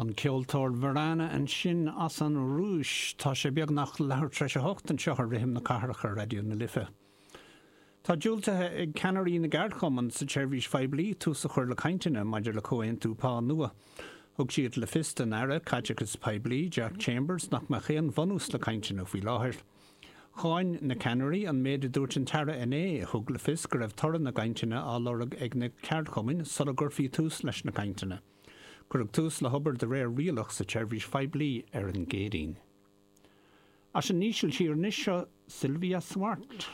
An ceoltóir Varana ansin as an Rúis. Tá sé beagnach leathuair tar éis a hocht anseo ar Rithim na Cathrach ar Raidió na Life. Tá diúltaithe ag ceannairí na gceardchumann sa tseirbhís phoiblí tús a chur le cainteanna maidir le comhaontú pá nua. Thug siad le fios don Aire Caiteachais Poiblí, Jack Chambers, nach mbeadh aon bhunús le cainteanna faoi láthair. Cháin na ceannairí an méid a dúirt an tAire inné, a thug le fios go raibh toradh na gcainteanna á lorg ag na ceardchumainn sula gcuirfí tús leis na cainteanna. Cuireadh tús le hobair de réir rialach sa tseirbhís phoiblí ar an gCéadaoin. As an Ísiltír anois seo Sylvia Swart.